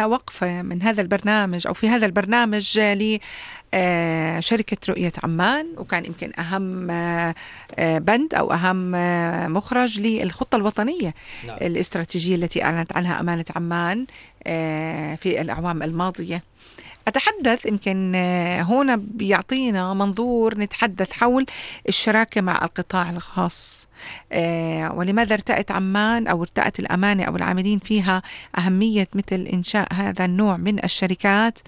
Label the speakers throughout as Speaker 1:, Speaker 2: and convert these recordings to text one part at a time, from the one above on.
Speaker 1: وقفة من هذا البرنامج أو في هذا البرنامج لشركة رؤية عمان، وكان يمكن أهم بند أو أهم مخرج للخطة الوطنية الاستراتيجية التي أعلنت عنها أمانة عمان في الأعوام الماضية. أتحدث يمكن هنا بيعطينا منظور نتحدث حول الشراكة مع القطاع الخاص، ولماذا ارتأت عمان أو ارتأت الأمانة أو العاملين فيها أهمية مثل إنشاء هذا النوع من الشركات،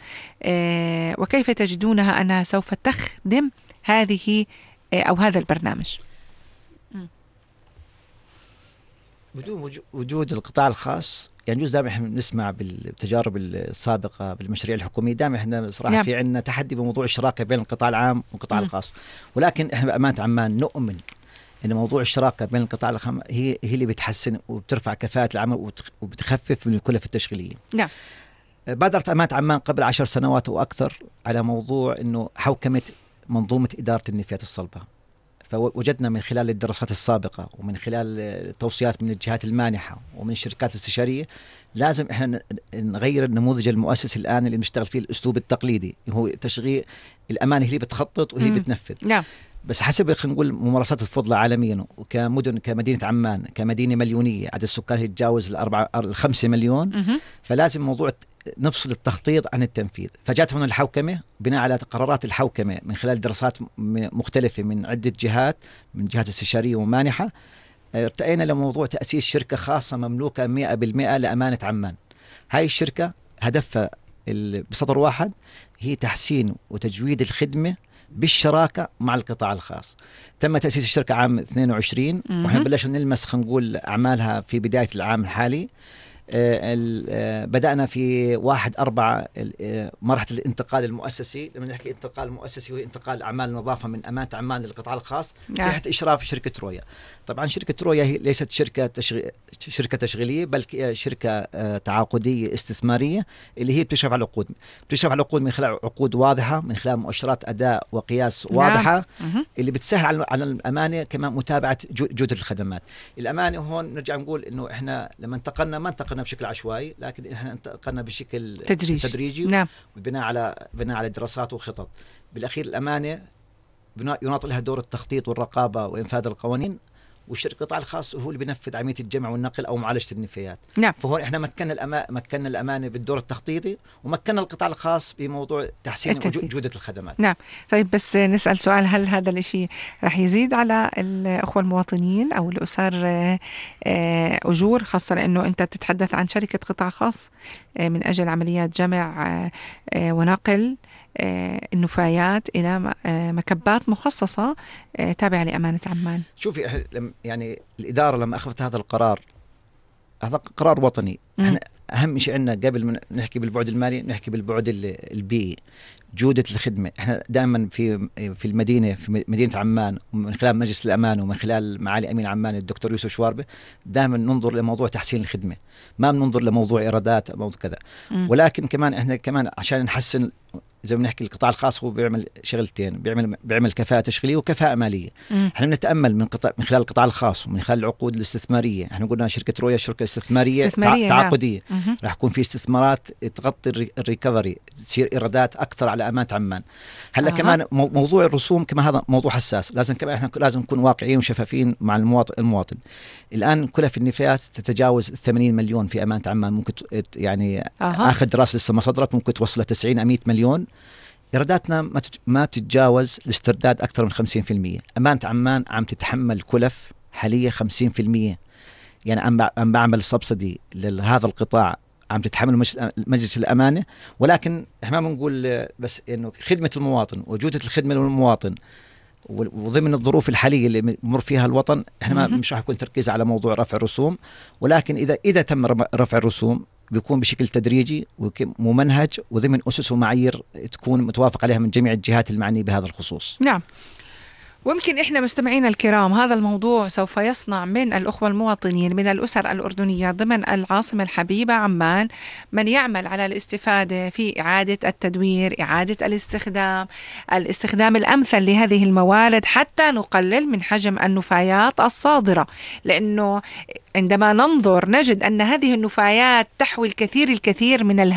Speaker 1: وكيف تجدونها أنها سوف تخدم هذه أو هذا البرنامج؟
Speaker 2: بدون وجود القطاع الخاص، يعني جزء دائما احنا نسمع بالتجارب السابقه بالمشاريع الحكوميه، دائما احنا صراحه في عندنا تحدي بموضوع الشراكه بين القطاع العام والقطاع الخاص، ولكن احنا بأمانة عمان نؤمن ان موضوع الشراكه بين القطاع العام هي اللي بتحسن وبترفع كفاءه العمل وبتخفف من الكلف التشغيليه.
Speaker 1: نعم.
Speaker 2: بادرت أمانة عمان قبل 10 سنوات واكثر على موضوع انه حوكمه منظومه اداره النفايات الصلبه، فوجدنا من خلال الدراسات السابقة ومن خلال التوصيات من الجهات المانحة ومن الشركات الاستشارية لازم احنا نغير النموذج المؤسسي الآن اللي بنشتغل فيه الأسلوب التقليدي، هو تشغيل الأمانة هي اللي بتخطط وهي اللي بتنفذ.
Speaker 1: نعم.
Speaker 2: بس حسب خلينا نقول ممارسات الفضلى عالميا وكمدن كمدينة عمان كمدينة مليونية عدد السكان يتجاوز 5 مليون، فلازم موضوع نفصل التخطيط عن التنفيذ. فجاءت هنا الحوكمة بناء على قرارات الحوكمة من خلال دراسات مختلفة من عدة جهات، من جهات استشارية ومانحة، ارتأينا لموضوع تأسيس شركة خاصة مملوكة 100% لأمانة عمان. هاي الشركة هدفها بسطر واحد هي تحسين وتجويد الخدمة بالشراكة مع القطاع الخاص. تم تأسيس الشركة عام 22 وحين بلشنا نلمس خلينا نقول أعمالها في بداية العام الحالي. بدأنا في 1/4 مرحلة الانتقال المؤسسي. لما نحكي انتقال مؤسسي هو انتقال أعمال النظافة من أمانة عمان للقطاع الخاص تحت إشراف شركة رويا. طبعا شركة رويا هي ليست شركة تشغيلية بل شركة تعاقدية استثمارية اللي هي بتشرف على العقود. بتشرف على العقود من خلال عقود واضحة، من خلال مؤشرات أداء وقياس واضحة اللي بتسهل على الأمانة كمان متابعة جودة الخدمات. الأمانة هون نرجع نقول إنه إحنا لما انتقلنا ما انتقلنا بشكل عشوائي، لكن احنا انتقلنا بشكل تدريجي.
Speaker 1: نعم.
Speaker 2: وبناء على دراسات وخطط. بالاخير الامانه يناط لها دور التخطيط والرقابه وانفاذ القوانين، والقطاع الخاص هو اللي بينفذ عمليه الجمع والنقل او معالجه النفايات.
Speaker 1: نعم.
Speaker 2: فهون احنا مكنا الامانه بالدور التخطيطي ومكنا القطاع الخاص بموضوع تحسين جوده الخدمات.
Speaker 1: نعم. طيب بس نسال سؤال، هل هذا الشيء رح يزيد على الاخوه المواطنين او الاسر اجور، خاصه لانه انت بتتحدث عن شركه قطاع خاص من اجل عمليات جمع ونقل النفايات إلى مكبات مخصصة تابعة لأمانة عمان؟
Speaker 2: شوفي يعني الإدارة لما أخذت هذا القرار، هذا قرار وطني. احنا أهم شيء عندنا قبل ما نحكي بالبعد المالي نحكي بالبعد البيئي، جودة الخدمة. احنا دائما في المدينة، في مدينة عمان، ومن خلال مجلس الأمان ومن خلال معالي أمين عمان الدكتور يوسف شواربة دائما ننظر لموضوع تحسين الخدمة، ما بننظر لموضوع إيرادات أو موضوع كذا. ولكن كمان احنا كمان عشان نحسن زي ما نحكي القطاع الخاص هو بيعمل شغلتين، بيعمل كفاءة تشغيلية وكفاءة مالية. احنا بنتأمل من خلال القطاع الخاص ومن خلال العقود الاستثمارية. احنا قلنا شركة رويا شركة استثمارية تعاقدية. راح يكون في استثمارات تغطي الريكفري، تصير إيرادات أكثر على أمانة عمان. هلا كمان موضوع الرسوم كمان هذا موضوع حساس، لازم كمان احنا لازم نكون واقعيين وشفافين مع المواطن. الآن كلف النفايات تتجاوز 80 مليون في أمانة عمان، ممكن يعني آخر دراسة لسه ما صدرت ممكن توصل 90-100 مليون. إيراداتنا ما بتتجاوز الاسترداد أكثر من 50%. أمانة عمان عم تتحمل كلف حاليا 50%. يعني عم بعمل سبسيدي لهذا القطاع، عم تتحمل مجلس الأمانة. ولكن احنا ما بنقول بس إنه خدمة المواطن وجودة الخدمة للمواطن وضمن الظروف الحالية اللي بمر فيها الوطن، احنا مش راح يكون تركيز على موضوع رفع الرسوم. ولكن إذا تم رفع الرسوم بيكون بشكل تدريجي وممنهج وضمن أسس ومعايير تكون متوافق عليها من جميع الجهات المعنية بهذا الخصوص.
Speaker 1: نعم. ويمكن إحنا مستمعينا الكرام هذا الموضوع سوف يصنع من الأخوة المواطنين من الأسر الأردنية ضمن العاصمة الحبيبة عمان من يعمل على الاستفادة في إعادة التدوير، إعادة الاستخدام الأمثل لهذه الموارد حتى نقلل من حجم النفايات الصادرة. لأنه عندما ننظر نجد أن هذه النفايات تحوي الكثير من